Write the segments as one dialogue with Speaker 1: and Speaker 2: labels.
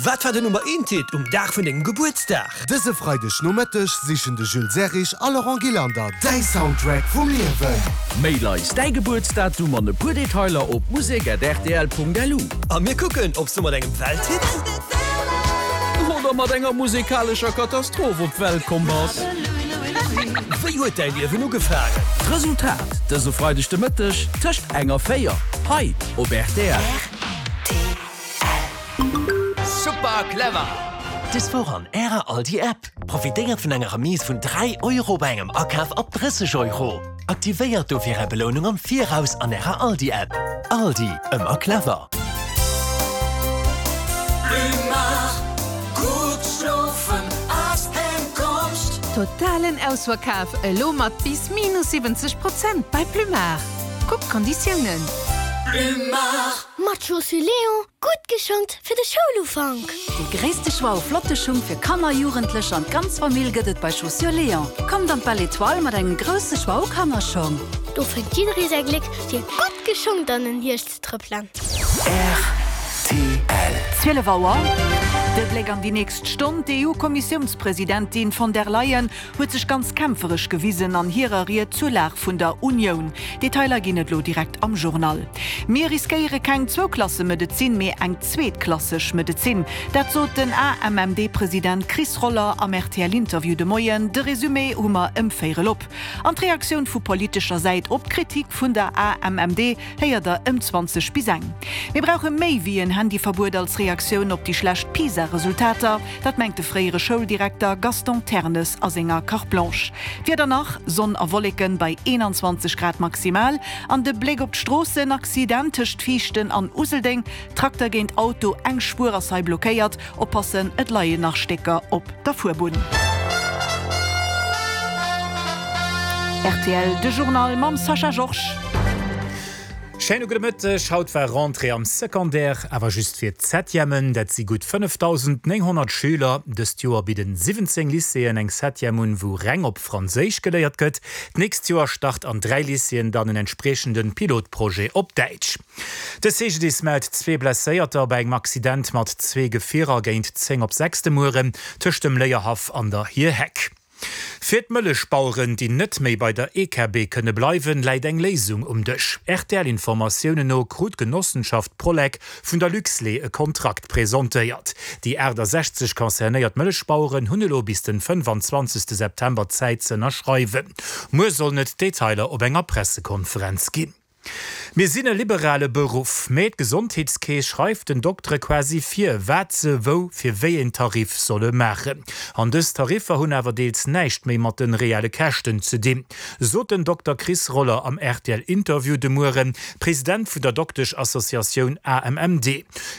Speaker 1: Wat war den Nummer eent Hit um Dag vun dengem Gebuertsdag?
Speaker 2: Dëse Freideg Nomëtteg sichen de Jules Serrig a Laurent Gillander däi Soundtrack vum Liewen.
Speaker 3: Mail eis däi Gebuertsdatum an e puer Detailer op musek@rtl.lu.
Speaker 1: A mir kucken, ob s du mat engem Welthit.
Speaker 3: Oder mat enger musekalescher Katastroph op d'Welt komm bass.
Speaker 1: Wéi huet däi Liewen ugefaangen?
Speaker 3: D'Resultat dëse Freideg de Mëtteg tëscht eng a 4 hei op rtl.
Speaker 4: Super clever!
Speaker 5: Dës Woch an Ärer Aldi App, Profitéiert vun enger Remise vun 3 Euro bei engem Akaf ab 30 Euro. Aktivéiert dofir Är Belounung am Viraus an Ärer Aldi App. Aldi, ëmmer clever!
Speaker 6: Totalen Ausverkaf elo mat bis minus 70 Prozent bei Plumard. Kuckt d'Konditiounen.
Speaker 7: Mat Chaussures Léon gutt geschongt fir de Schoulufank!
Speaker 6: Dee gréisste Choix u flotte Schung fir Kanner, Jugendlecher an d'ganz Famill gëtt et bei Chaussures Léon. Kommt an d'Belle Etoile mat engem grousse Choix u Kannerschong.
Speaker 7: Do fënnt jidderee säi Gléck fir gutt geschongt an den Hierscht ze trëppelen.
Speaker 8: Rtl. 12 Auer, De Bléck an déi nächst Stonn, D'EU-Kommissiounspresidentin von der Leyen huet sech ganz kämpferesch gewisen an hirer Ried zur Lag vun der Unioun. Detailer ginn et lo direkt am Journal. Mir riskéiere keng Zwouklassemedezin, mee eng zweetklasseg Medezin. Dat sot den AMMD-President Chris Roller am RTL-Interview de Moien. De Resumé hu mer ëm véierel op. An d'Reaktioun vu politescher Säit op d'Kritik vun der AMMD héiert der ëm 20 bis eng. Mir brauche méi wéi en Handyverbuet als Reaktioun op déi schlecht PISA-Resultater. Dat mengt de fréiere Schouldirekter Gaston Ternes a senger Carte Blanche. D'Wieder nach, Sonn a Wolleken bei 21 Grad maximal. An de Bléck op d'Stroossen, Accident tëscht Viichten an Useldeng, Trakter géint Auto, eng Spuer ass hei blockéiert. Oppassen, et leien nach Stécker op der Fuerbunn. Rtl, de Journal mam Sascha Georges.
Speaker 9: Schéine gudde Mëtteg. Haut war Rentrée am Secondaire, awer just fir d'Septièmen. Dat si gutt 5.900 Schüler. Dëst Joer bidden 17 Lycéeën eng Septième un, wou reng op Franséisch geléiert gëtt. D'nächst Joer start an 3 Lycéeën dann en entspriechende Pilotprojet op Däitsch. De CGDIS mellt zwee Blesséierter bei engem Accident mat zwee Gefierer géint 10 op 6 de Mueren tëscht dem Léierhaff an der Hierheck. Fir d'Mëllechbaueren, déi net méi bei der EKB kënne bleiwen, läit eng Léisung um Dësch. RTL-Informatiounen no krut d'Genossenschaft Prolec vun der Luxlait e Kontrakt presentéiert. Déi 68 concernéiert Mëllechbaueren hunn elo bis den 25 September Zäit ze ënnerschreiwen. Muer sollen et Detailer op enger Pressekonferenz ginn. Mir sinn e liberale Beruff, mä d'Gesondheetskeess schreift den Doktere quasi vir, wat se wou fir wéi een Tarif solle maachen. An dës Tariffer hunn awer deels näischt méi mat de reelle Käschten ze dinn, sot den Dokter Chris Roller am RTL-Interview de Mueren, President vun der Dokteschassociatioun AMMD.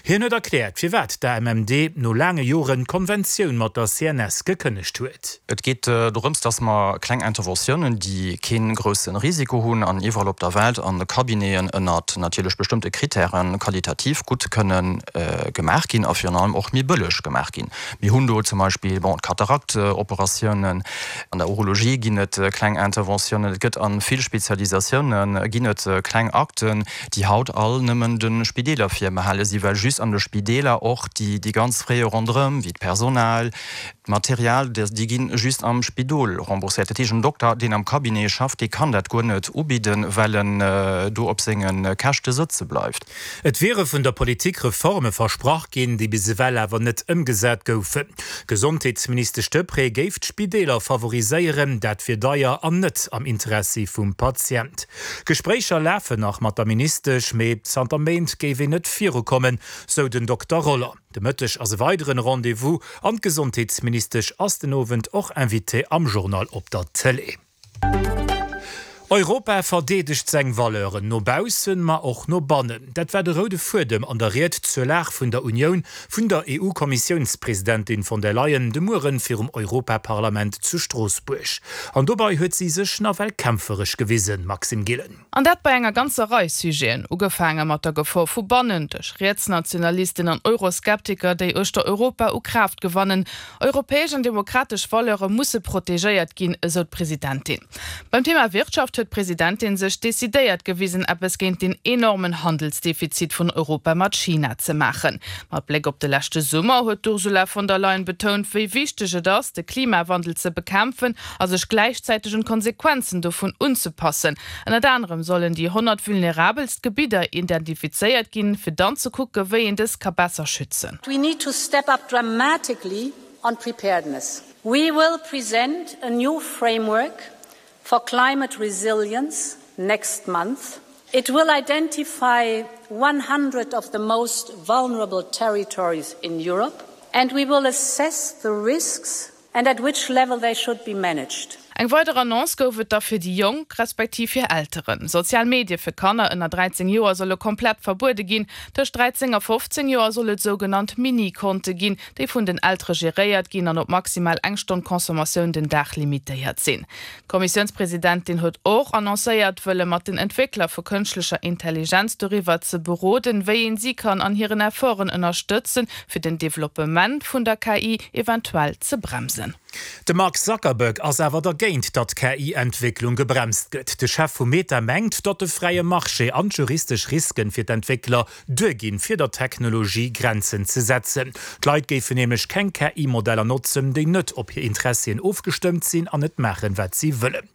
Speaker 9: Hien huet erkläert, firwat d'AMMD no laange Joren d'Konventioun mat der CNS gekënnegt huet.
Speaker 10: Et geet dorëms, dass mer kleng Interventiounen, déi kee grousse Risiko hunn an iwwerall op der Welt an de Cabineten ënnert natierlech bestëmmte Kritären qualitativ gutt kënne gemaach ginn a virun allem och méi bëlleg gemaach ginn. Mir hunn do zum Beispill, bon, d'Kataraktoperationen, an der Urologie ginn et kleng Interventiounen, et gëtt a vill Spezialisatiounen ginn et kleng Akten, déi haut all nëmmen de Spideeler virbehale sinn, well just an de Spideeler och déi ganz Frais ronderëm, wéi d'Personal, D'Material, déi ginn just am Spidol rembourséiert. Dat heescht, en Dokter, deen am Cabinet schafft, dee kann dat guer net ubidden, well en do op senge Käschte sëtze bleift.
Speaker 9: Et wiere vun der Politik Reforme versprach ginn, déi bis ewell awer net ëmgesat goufen. D'Gesondheetsministesch Deprez géif d'Spideeler favoriséieren, dat wier deier an net am Interessi vum Patient. Gespréicher lafen nach mat der Ministesch, mee zanter Méint géif een net virukommen, sou den Dokter Roller. De Mëtteg ass e weideren Rendez-vous an d'Gesondheetsministesch ass den Owend och Invitée am Journal op der Tëlee. Europa verdeedegt seng Valeuren no baussen, ma och no bannen. Dat war de roude Fuedem an der Ried zur Lag vun der Unioun vun der EU-Kommissiounspresidentin von der Leyen de Mueren virum Europaparlament zu Stroossbuerg. An dobei huet si sech nawell kämpferesch gewisen, Maxime Gillen.
Speaker 11: An dat bei enger ganzer Rei Sujeten, ugefaange mat der Gefor vu bannen, duerch Rietsnationalisten an Euroskeptiker, déi uechter Europa u Kraaft gewannen. Europäesch an demokratesch Valeure musse protegéiert ginn, esou d'Presidentin. Beim Thema Wirtschaft. huet d'Presidentin sech decidéiert gewisen, eppes géint den enormen Handelsdefizit vun Europa mat China ze maachen. Mat Bléck op de leschte Summer huet d'Ursula von der Leyen betount, wéi wichteg et ass, de Klimawandel ze bekämpfen a sech gläichzäiteg un d'Konsequenzen dovun unzepassen. Ënnert anerem sollen déi 100 vulnerabelst Gebidder identifizéiert ginn, fir dann ze kucke wéi een dës ka besser schützen.
Speaker 12: We need to step up dramatically on preparedness. We will present a new framework for climate resilience next month. It will identify 100 of the most vulnerable territories in Europe and we will assess the risks and at which level they should be managed.
Speaker 11: Eng weider Annonce gouf et da fir déi Jonk, respektiv hir Elteren. Sozial Medie fir Kanner ënner 13 Joer solle komplett verbuede ginn. Tëscht 13 a 15 Joer soll et sougenannt Mini-Konte ginn, déi vun den Eltere geréiert ginn an op maximal eng Stonn Consommatioun den Dag limitéiert sinn. D'Kommissiounspresidentin huet och annoncéiert, wëlle mat den Entwéckler vu kënschtlecher Intelligenz doriwwer ze beroden, wéi een si kann an hiren Efforten ënnerstëtzen, fir den Developpement vun der KI eventuell ze bremsen.
Speaker 9: De Mark Zuckerberg ass awer dergéint, datt d'KI-Entwécklung gebremst gëtt. De Chef vu Meta mengt, datt de fräie Marché an d'juristesch Risken fir d'Entwéckler duerginn, fir der Technologie Grenzen ze setzen. D'Leit géifen nämlech keng KI-Modeller notzen, déi net op hir Interessien ofgestëmmt sinn an net maachen, wat si wëllen.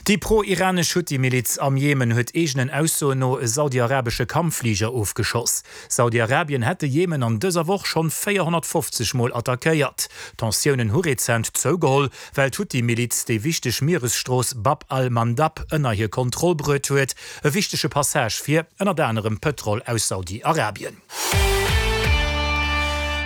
Speaker 9: Déi pro-iranesch Huthi-Miliz am Jemen huet eegenen Aussoen no e saudi-arabesche Kampffliger ofgeschoss. Saudi-Arabien hätt de Jemen an dëser Woch schonn 450 Mol attackéiert. D'Tensiounen hu rezent zougeholl, well d'Huthi-Miliz déi wichteg Mieresstrooss Bab al-Mandab ënner hir Kontroll bruet huet, E wichtege Passage fir, ënnert anerem, Pëtrol aus Saudi-Arabien.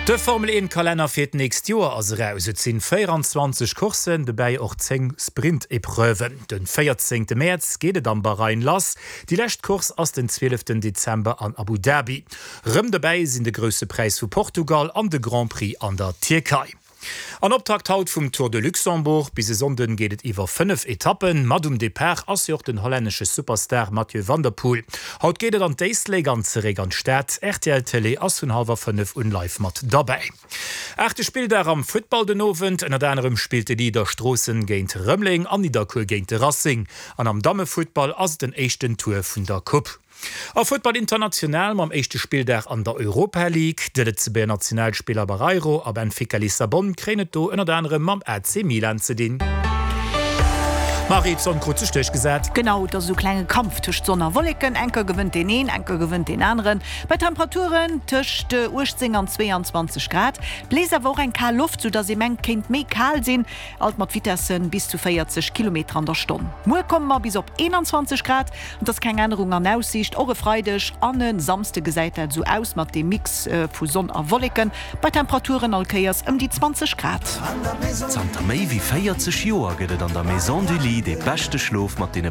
Speaker 9: De Formel 1 Kalenner fir d'nächst Joer ass eraus. Et sinn 24 Courssen, dobäi och 10 Sprint-Epreuven. Den 14 Mäerz geet et am Bahrain lass. Déi lescht Course ass den 12 Dezember an Abu Dhabi. Rëm dobäi sinn de Grousse Präis vu Portugal an de Grand Prix an der Tierkei. An Optakt haut vum Tour de Luxembourg. Bis e Sonnden geet et iwwer 5 Etappen. Mat um Depart ass jo och den hollännesche Superstar Mathieu van der Poel. Haut geet et an d'Éislek an zeréck an d'Stad. Rtl Télé ass vun hallwer 5 un live mat derbäi. Aachte Spilldag am Futtball den Owend. Ënnert anerem spillt de Leader Stroossen géint Rëmeleng an Nidderkuer géint de Racing. An am Dammefuttball ass et den éischten Tour vun der Coupe. A Futtball international mam éischte Spilldag an der Europa League. De Lëtzebuerger Nationalspiller Barreiro a Benfica Lissabon kréien et do ënnert anerem mam AC Milan ze dinn. Marie, d'Sonn krut sech duerchgesat.
Speaker 8: Genau, et ass esou klenge Kampf tëscht Sonn a Wolleken. Enker gewënnt deen een, enker gewënnt deen aneren. Bei Temperaturen tëscht 18 an 22 Grad. Bléist awer och eng kal Loft, soudass ee mengt, kéint méi kal sinn. Alt mat Vitessen bis zu 40 Kilometer an der Stonn. Muer komme mer bis op 21 Grad. Et ass keng Ännerung an Aussiicht. Och e Freideg an e Samsde gesäit dat esou aus, mat deem Mix vu Sonn a Wolleken, bei Temperaturen all Kéiers ëm déi 20 Grad.
Speaker 5: Zanter méi wéi 40 Joer gëtt et an der Maison du Lit dee beschte Schlof mat deene.